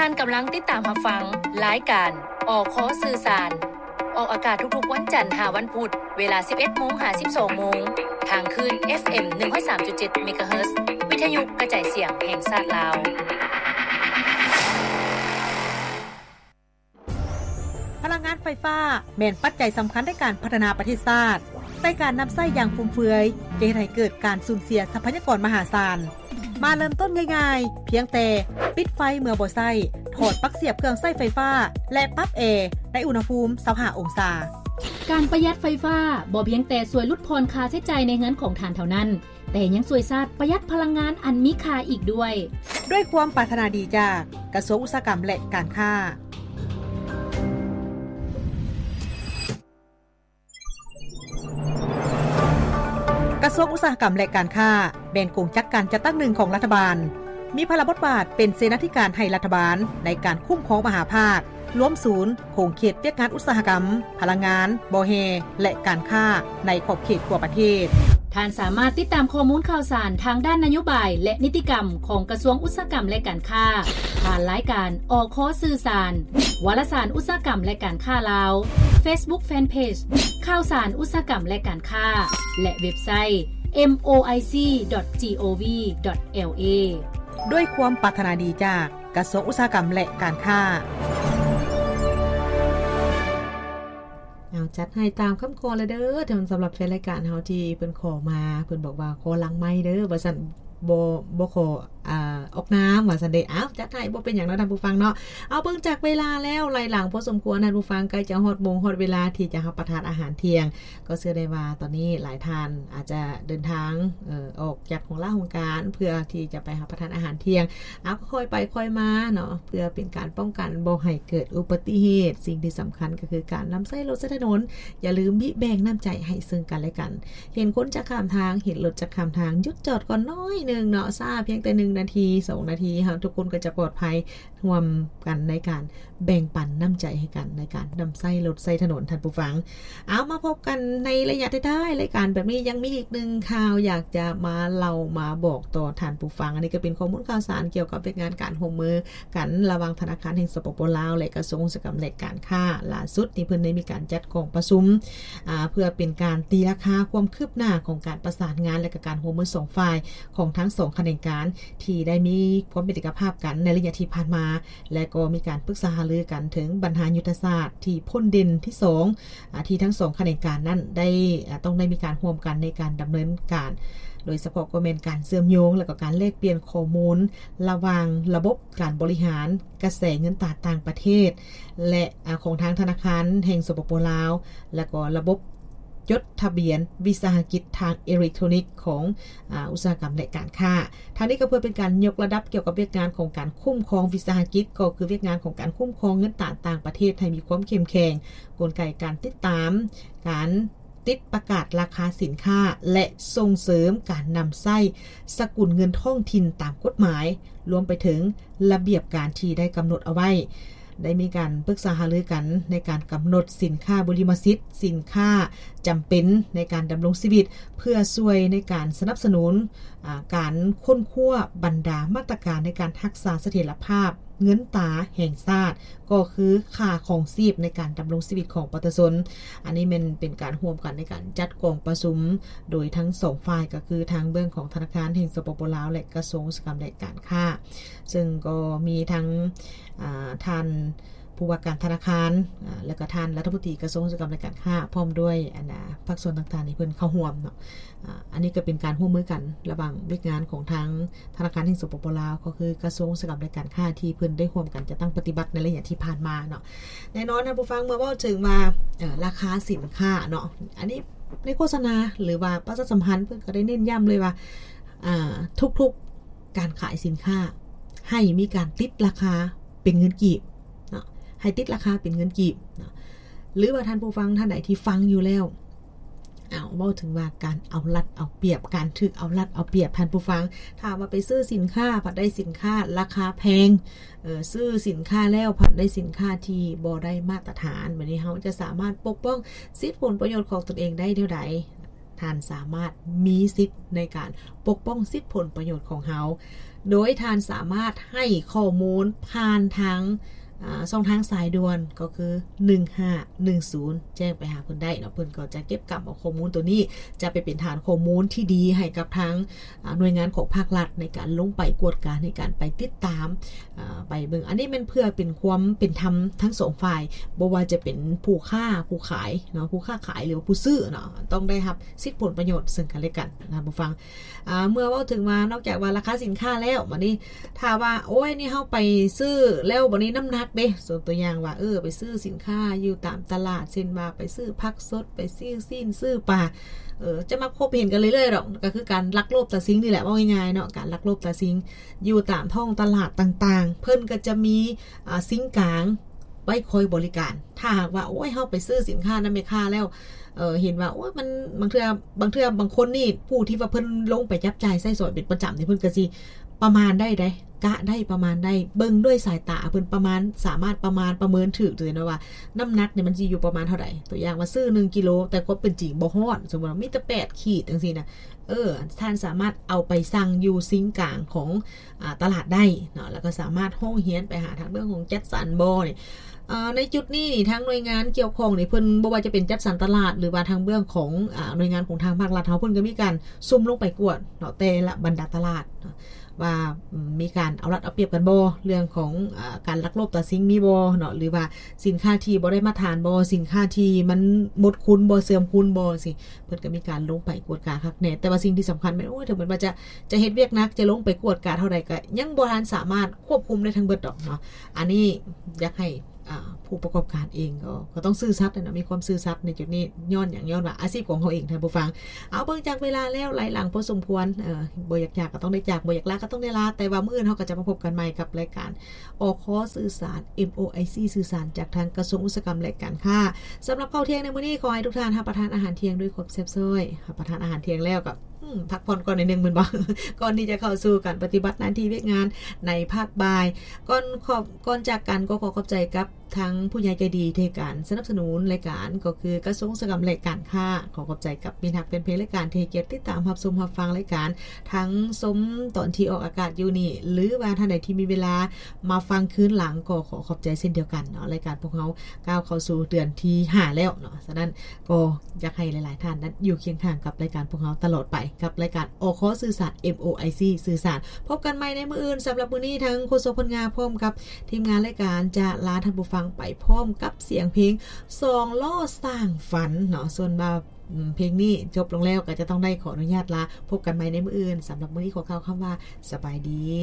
ທ່ານກຳລັງຕິດຕາມຮັບຟັງລາຍການ ອຄ ສື່ສານ ອອກອາກາດທຸກໆວັນຈັນຫາວັນພຸດ ເວລາສິບເອັດໂມງຫາສິບສອງໂມງ ທາງຄື້ນ ເອັຟເອັມ ໜຶ່ງຮ້ອຍສາມຈຸດເຈັດ ເມກາເຮີດ ວິທະຍຸກະຈາຍສຽງແຫ່ງຊາດລາວ. ພະລັງງານໄຟຟ້າແມ່ນປັດໄຈສຳຄັນໃນການພັດທະນາປະເທດຊາດ, ແຕ່ການນຳໃຊ້ຢ່າງຟຸມເຟືອຍຈະເຮັດໃຫ້ເກີດການສູນເສຍຊັບພະຍາກອນມະຫາສານ. ມາເລີ່ມຕົ້ນງ່າຍໆ, ພຽງແຕ່ປິດໄຟເມື່ອບໍ່ໃຊ້, ຖອດປັກສຽບເຄື່ອງໃຊ້ໄຟຟ້າ ແລະ ປັບແອໃນອຸນຫະພູມຊາວຫ້າອົງສາ. ການປະຢັດໄຟຟ້າບໍ່ພຽງແຕ່ຊ່ວຍຫຼຸດຜ່ອນຄ່າໃຊ້ຈ່າຍໃນເຮືອນຂອງທ່ານເທົ່ານັ້ນ, ແຕ່ຍັງຊ່ວຍຊາດປະຢັດພະລັງງານອັນມີຄ່າອີກດ້ວຍ. ດ້ວຍຄວາມປາດຖະໜາດີຈາກກະຊວງອຸດສາຫະກຳ ແລະ ການຄ້າ. ກະຊວງອຸດສາຫະກຳ ແລະ ການຄ້າ ແມ່ນກົງຈັກການຈັດຕັ້ງໜຶ່ງຂອງລັດຖະບານ, ມີພາລະບົດບາດເປັນເສນາທິການໃຫ້ລັດຖະບານໃນການຄຸ້ມຄອງມະຫາພາກ, ລວມສູນ, ຂົງເຂດວຽກງານອຸດສາຫະກຳ, ພະລັງງານ, ບໍ່ແຮ່ ແລະ ການຄ້າໃນຂອບເຂດທົ່ວປະເທດ. ທ່ານສາມາດຕິດຕາມຂໍ້ມູນຂ່າວສານທາງດ້ານນະໂຍບາຍ ແລະ ນິຕິກຳຂອງກະຊວງອຸດສາຫະກຳ ແລະ ການຄ້າ ຜ່ານລາຍການ ອຄ ສື່ສານ, ວາລະສານອຸດສາຫະກຳ ແລະ ການຄ້າລາວ, Facebook Fanpage ຂ່າວສານອຸດສາຫະກຳ ແລະ ການຄ້າ ແລະ ເວັບໄຊ ເອັມໂອໄອຊີ ດອດ ຈີໂອວີ ດອດ ແອລເອ. ດ້ວຍຄວາມປາດຖະໜາດີຈາກກະຊວງອຸດສາຫະກຳ ແລະ ການຄ້າ. ເອົາ ຈັດໃຫ້ຕາມຄຳຂໍແລ້ວເດີ ສຳລັບແຟນລາຍການເຮົາທີ່ເພິ່ນຂໍມາ, ເພິ່ນບອກວ່າຂໍຫຼັງໄມເດີ ວ່າຊັ້ນ, ບໍ່ ບໍ່ຂໍ ອາ ອອກນາມ ວ່າຊັ້ນເດ. ເອົາ ຈັດໃຫ້ ບໍ່ເປັນຫຍັງເນາະທ່ານຜູ້ຟັງເນາະ. ເອົາ ເບິ່ງຈາກເວລາແລ້ວ ໄລ່ຫຼັງພໍສົມຄວນ ທ່ານຜູ້ຟັງ, ໃກ້ຈະຮອດໂມງຮອດເວລາທີ່ຈະຮັບປະທານອາຫານທ່ຽງ. ກໍເຊື່ອໄດ້ວ່າຕອນນີ້ຫຼາຍທ່ານອາດຈະເດີນທາງ ເອີ ອອກຈາກຫ້ອງລາຫ້ອງການ ເພື່ອທີ່ຈະໄປຮັບປະທານອາຫານທ່ຽງ. ເອົາ ກໍຄ່ອຍໄປຄ່ອຍມາເນາະ ເພື່ອເປັນການປ້ອງກັນບໍ່ໃຫ້ເກີດອຸບັດຕິເຫດ. ສິ່ງທີ່ສຳຄັນກໍຄືການນຳໃຊ້ລົດໃຊ້ຖະໜົນ, ຢ່າລືມບິແບ່ງນ້ຳໃຈໃຫ້ເຊິ່ງກັນແລະກັນ. ເຫັນຄົນຈະຂ້າມທາງ, ເຫັນລົດຈະຂ້າມທາງ, ຢຸດຈອດກ່ອນໜ້ອຍໜຶ່ງເນາະ, ຊ້າພຽງແຕ່ໜຶ່ງນາທີ, ສອງນາທີ, ເຮົາທຸກຄົນກໍຈະປອດໄພ. ຮ່ວມກັນໃນການແບ່ງປັນນ້ຳໃຈໃຫ້ກັນໃນການນຳໃຊ້ລົດໃຊ້ຖະໜົນ, ທ່ານຜູ້ຟັງ. ເອົາ ມາພົບກັນໃນໄລຍະທ້າຍໆລາຍການແບບນີ້, ຍັງມີອີກໜຶ່ງຂ່າວຢາກຈະມາເລົ່າມາບອກຕໍ່ທ່ານຜູ້ຟັງ. ອັນນີ້ກໍເປັນຂໍ້ມູນຂ່າວສານກ່ຽວກັບວຽກງານການຮ່ວມມືກັນລະຫວ່າງທະນາຄານແຫ່ງ ສປປ ລາວ ແລະ ກະຊວງອຸດສາຫະກຳ ແລະ ການຄ້າ. ຫຼ້າສຸດນີ້ເພິ່ນໄດ້ມີການຈັດກອງປະຊຸມ ອາ ເພື່ອເປັນການຕີລາຄາຄວາມຄືບໜ້າຂອງການປະສານງານ ແລະ ກະການຮ່ວມມືສອງຝ່າຍຂອງທັງສອງຂະແໜງການ ທີ່ໄດ້ມີຄວາມເປັນເອກະພາບກັນໃນໄລຍະທີ່ຜ່ານມາ ແລະ ກໍມີການປຶກສາຫາລືກັນເຖິງບັນຫາຍຸດທະສາດທີ່ພົ້ນເດັ່ນທີສອງ ອາ ທີ່ທັງສອງຂະແໜງການນັ້ນໄດ້ ອາ ຕ້ອງໄດ້ມີການຮ່ວມກັນໃນການດຳເນີນການ, ໂດຍສະເພາະກໍແມ່ນການເຊື່ອມໂຍງ ແລະ ກໍການແລກປ່ຽນຂໍ້ມູນລະຫວ່າງລະບົບການບໍລິຫານກະແສເງິນຕາຕ່າງປະເທດ ແລະ ອາ ຂອງທາງທະນາຄານແຫ່ງ ສປປ ລາວ ແລະ ກໍລະບົບ ຈົດທະບຽນວິສາຫະກິດທາງເອເລັກໂທຣນິກຂອງ ອາ ອຸດສາຫະກຳ ແລະ ການຄ້າ. ທາງນີ້ກໍເພື່ອເປັນການຍົກລະດັບກ່ຽວກັບວຽກງານຂອງການຄຸ້ມຄອງວິສາຫະກິດ, ກໍຄືວຽກງານຂອງການຄຸ້ມຄອງເງິນຕາຕ່າງປະເທດໃຫ້ມີຄວາມເຂັ້ມແຂງ, ກົນໄກການຕິດຕາມ, ການຕິດປະກາດລາຄາສິນຄ້າ ແລະ ສົ່ງເສີມການນຳໃຊ້ສະກຸນເງິນທ້ອງຖິ່ນຕາມກົດໝາຍ, ລວມໄປເຖິງລະບຽບການທີ່ໄດ້ກຳນົດເອົາໄວ້. ໄດ້ມີການປຶກສາຫາລືກັນໃນການກຳນົດສິນຄ້າບຸລິມະສິດ, ສິນຄ້າຈຳເປັນໃນການດຳລົງຊີວິດ ເພື່ອຊ່ວຍໃນການສະໜັບສະໜູນ ອາ ການຄົ້ນຄວ້າບັນດາມາດຕະການໃນການຮັກສາສະຖຽນລະພາບເງິນຕາແຫ່ງຊາດ, ກໍຄືຄ່າຄອງຊີບໃນການດຳລົງຊີວິດຂອງປະຊາຊົນ. ອັນນີ້ແມ່ນເປັນການຮ່ວມກັນໃນການຈັດກອງປະຊຸມໂດຍທັງສອງຝ່າຍ, ກໍຄືທາງເບື້ອງຂອງທະນາຄານແຫ່ງ ສປປ ລາວ ແລະ ກະຊວງອຸດສາຫະກຳ ແລະ ການຄ້າ. ເຊິ່ງກໍມີທັງ ອາ ທ່ານຜູ້ວ່າການທະນາຄານ ອາ ແລ້ວກໍທ່ານລັດຖະມົນຕີກະຊວງອຸດສາຫະກຳ ແລະ ການຄ້າ ພ້ອມດ້ວຍ ອັນ ອາ ພາກສ່ວນຕ່າງໆ ທີ່ເພິ່ນເຂົ້າຮ່ວມເນາະ. ອາ ອັນນີ້ກໍເປັນການຮ່ວມມືກັນລະຫວ່າງວຽກງານຂອງທາງທະນາຄານແຫ່ງ ສປປ ລາວ ກໍຄືກະຊວງອຸດສາຫະກຳ ແລະ ການຄ້າ ທີ່ເພິ່ນໄດ້ຮ່ວມກັນຈັດຕັ້ງປະຕິບັດໃນໄລຍະທີ່ຜ່ານມາເນາະ. ແນ່ນອນທ່ານຜູ້ຟັງ ເມື່ອເວົ້າເຖິງວ່າ ເອີ ລາຄາສິນຄ້າເນາະ, ອັນນີ້ໃນໂຄສະນາ ຫຼືວ່າປະຊາສຳພັນ ເພິ່ນກໍໄດ້ເນັ້ນຢ້ຳເລີຍວ່າ ອາ ທຸກໆ ການຂາຍສິນຄ້າ ໃຫ້ມີການຕິດລາຄາເປັນເງິນກີບເນາະ, ໃຫ້ຕິດລາຄາເປັນເງິນກີບເນາະ. ຫຼືວ່າທ່ານຜູ້ຟັງທ່ານໃດທີ່ຟັງຢູ່ແລ້ວ ເອົາ ເວົ້າເຖິງວ່າການເອົາລັດເອົາປຽບ, ການຖືກເອົາລັດເອົາປຽບ, ທ່ານຜູ້ຟັງ, ຖ້າວ່າໄປຊື້ສິນຄ້າ ພັດໄດ້ສິນຄ້າລາຄາແພງ, ເອີ ຊື້ສິນຄ້າແລ້ວ ພັດໄດ້ສິນຄ້າທີ່ບໍ່ໄດ້ມາດຕະຖານ, ບັດນີ້ເຮົາຈະສາມາດປົກປ້ອງສິດຜົນປະໂຫຍດຂອງຕົນເອງໄດ້ແນວໃດ? ທ່ານສາມາດມີສິດໃນການປົກປ້ອງສິດຜົນປະໂຫຍດຂອງເຮົາ ໂດຍທ່ານສາມາດໃຫ້ຂໍ້ມູນຜ່ານທາງ ອ່າ ຊ່ອງທາງສາຍດ່ວນ ກໍຄື ໜຶ່ງຫ້າໜຶ່ງສູນ ແຈ້ງໄປຫາເພິ່ນໄດ້ເນາະ. ເພິ່ນກໍຈະເກັບກຳເອົາຂໍ້ມູນໂຕນີ້ ຈະໄປເປັນຖານຂໍ້ມູນທີ່ດີໃຫ້ກັບທາງ ອ່າ ໜ່ວຍງານຂອງພາກລັດ ໃນການລົງໄປກວດກາ ໃນການໄປຕິດຕາມ ອ່າ ໄປເບິ່ງ. ອັນນີ້ແມ່ນເພື່ອເປັນຄວາມເປັນທຳທັງສອງຝ່າຍ ບໍ່ວ່າຈະເປັນຜູ້ຄ້າຜູ້ຂາຍເນາະ ຜູ້ຄ້າຂາຍ ຫຼືວ່າຜູ້ຊື້ເນາະ ຕ້ອງໄດ້ຮັບສິດຜົນປະໂຫຍດເຊິ່ງກັນແລະກັນນະ ທ່ານຜູ້ຟັງ. ອ່າ ເມື່ອເວົ້າເຖິງວ່າ ນອກຈາກວ່າລາຄາສິນຄ້າແລ້ວ ບັດນີ້ຖ້າວ່າ ໂອ້ຍ ນີ້ເຮົາໄປຊື້ແລ້ວ ບັດນີ້ນ້ຳໜັກເດ້ ຍົກຕົວຢ່າງວ່າ ເອີ ໄປຊື້ສິນຄ້າຢູ່ຕາມຕະຫຼາດ ເຊັ່ນວ່າໄປຊື້ຜັກສົດ ໄປຊື້ຊີ້ນ ຊື້ປາ ເອີ ຈະມັກພົບເຫັນກັນເລື້ອຍໆດອກ ກໍຄືການລັກໂລບຕາຊິງນີ້ແຫຼະ ເວົ້າງ່າຍໆເນາະ ການລັກໂລບຕາຊິງຢູ່ຕາມທ້ອງຕະຫຼາດຕ່າງໆ ເພິ່ນກໍຈະມີ ອ່າ ຊິງກາງໄວ້ຄອຍບໍລິການ. ຖ້າຫາກວ່າ ໂອ້ຍ ເຮົາໄປຊື້ສິນຄ້ານຳແມ່ຄ້າແລ້ວ ເອີ ເຫັນວ່າ ໂອ້ຍ ມັນ ບາງເທື່ອ ບາງເທື່ອ ບາງຄົນນີ້ ຜູ້ທີ່ວ່າເພິ່ນລົງໄປຈັບຈ່າຍໃຊ້ສອຍເປັນປະຈຳນີ້ ເພິ່ນກໍຊິປະມານໄດ້ເດ້ ກະໄດ້ປະມານໄດ້ ເບິ່ງດ້ວຍສາຍຕາເພິ່ນປະມານ ສາມາດປະມານປະເມີນຖືກເລີຍເນາະວ່າ ນ້ຳໜັກນີ້ມັນຊິຢູ່ປະມານເທົ່າໃດ. ຕົວຢ່າງວ່າຊື້ໜຶ່ງກິໂລ ແຕ່ຄວາມເປັນຈິງບໍ່ຮອດ ສົມມຸດວ່າມີແຕ່ແປດຂີດຈັ່ງຊີ້ນະ ເອີ ທ່ານສາມາດເອົາໄປຊັ່ງຢູ່ຊິງກາງຂອງ ອາ ຕະຫຼາດໄດ້ເນາະ ແລ້ວກໍສາມາດຮ້ອງຮຽນໄປຫາທາງເບື້ອງຂອງຈັດສັນບໍ່ນີ້. ເອີ ໃນຈຸດນີ້ນີ້ ທາງໜ່ວຍງານກ່ຽວຂ້ອງນີ້ ເພິ່ນບໍ່ວ່າຈະເປັນຈັດສັນຕະຫຼາດ ຫຼືວ່າທາງເບື້ອງຂອງ ອາ ໜ່ວຍງານຂອງທາງພາກລັດເຮົາ ເພິ່ນກໍມີການຊຸ່ມລົງໄປກວດເນາະ ແຕ່ລະບັນດາຕະຫຼາດເນາະ ວ່າ ອາ ມີການເອົາລັດເອົາປຽບກັນບໍ່ ເລື່ອງຂອງ ອາ ການລັກໂລບຕາຊິງມີບໍ່ເນາະ ຫຼືວ່າສິນຄ້າທີ່ບໍ່ໄດ້ມາດຕະຖານບໍ່ ສິນຄ້າທີ່ມັນໝົດຄຸນບໍ່ ເສື່ອມຄຸນບໍ່ ຈັ່ງຊີ້ ເພິ່ນກໍມີການລົງໄປກວດກາຄັກແນ່. ແຕ່ວ່າສິ່ງທີ່ສຳຄັນແມ່ນ ໂອ້ຍ ເຖິງແມ່ນວ່າຈະ ຈະເຮັດວຽກໜັກ ຈະລົງໄປກວດກາເທົ່າໃດ ກໍຍັງບໍ່ທັນສາມາດຄວບຄຸມໄດ້ທັງເບິດດອກເນາະ. ອັນນີ້ຢາກໃຫ້ ອ່າ ຜູ້ປະກອບການເອງກໍ ກໍຕ້ອງຊື່ສັດເນາະ ມີຄວາມຊື່ສັດໃນຈຸດນີ້. ຍ້ອນຫຍັງ? ຍ້ອນວ່າອາຊີບຂອງເຮົາເອງ ທ່ານຜູ້ຟັງ. ເອົາ ເບິ່ງຈາກເວລາແລ້ວ ໄຫຼຫຼັງພໍສົມຄວນ ເອີ ບໍ່ຢາກຈາກກໍຕ້ອງໄດ້ຈາກ ບໍ່ຢາກລາກໍຕ້ອງໄດ້ລາ ແຕ່ວ່າມື້ອື່ນເຮົາກໍຈະມາພົບກັນໃໝ່ກັບລາຍການ ອຄ ສື່ສານ ເອັມ ໂອ ໄອ ຊີ ສື່ສານ ຈາກທາງກະຊວງອຸດສາຫະກຳ ແລະ ການຄ້າ. ສຳລັບເຂົ້າທ່ຽງໃນມື້ນີ້ ຂໍໃຫ້ທຸກທ່ານຮັບປະທານອາຫານທ່ຽງດ້ວຍຄວາມແຊບຊ້ອຍ. ຮັບປະທານອາຫານທ່ຽງແລ້ວກໍ ອືມ ພັກຜ່ອນກ່ອນໜ້ອຍໜຶ່ງແມ່ນບໍ່? ກ່ອນທີ່ຈະເຂົ້າສູ່ການປະຕິບັດໜ້າທີ່ວຽກງານໃນພາກບ່າຍ. ກ່ອນຂອບ ກ່ອນຈາກກັນກໍຂໍຂອບໃຈກັບ ທາງຜູ້ໃຫຍ່ໃຈດີທີ່ໃຫ້ການສະໜັບສະໜູນລາຍການ ກໍຄືກະຊວງອຸດສາຫະກຳ ແລະ ການຄ້າ. ຂໍຂອບໃຈກັບມິດຮັກແຟນເພຈລາຍການທີ່ໃຫ້ກຽດຕິດຕາມຮັບຊົມຮັບຟັງລາຍການ ທັງຊົມຕອນທີ່ອອກອາກາດຢູ່ນີ້ ຫຼືວ່າທ່ານໃດທີ່ມີເວລາມາຟັງຄືນຫຼັງ ກໍຂໍຂອບໃຈເຊັ່ນດຽວກັນເນາະ. ລາຍການພວກເຮົາກ້າວເຂົ້າສູ່ເດືອນທີຫ້າແລ້ວເນາະ. ສະນັ້ນກໍຢາກໃຫ້ຫຼາຍໆທ່ານນັ້ນຢູ່ຄຽງຂ້າງກັບລາຍການພວກເຮົາຕະຫຼອດໄປ ກັບລາຍການ ອຄ ສື່ສານ ເອັມ ໂອ ໄອ ຊີ ສື່ສານ. ພົບກັນໃໝ່ໃນມື້ອື່ນ. ສຳລັບມື້ນີ້ ທາງໂຄສົກພົນງາ ພ້ອມກັບທີມງານລາຍການ ຈະລາທ່ານຜູ້ຟັງໄປພ້ອມກັບສຽງເພງສອງລໍ້ສ້າງຝັນເນາະ. ສ່ວນວ່າ ອືມ ເພງນີ້ຈົບລົງແລ້ວ ກໍຈະຕ້ອງໄດ້ຂໍອະນຸຍາດລາ. ພົບກັນໃໝ່ໃນມື້ອື່ນ. ສຳລັບມື້ນີ້ ຂໍກ່າວຄຳວ່າ ສະບາຍດີ.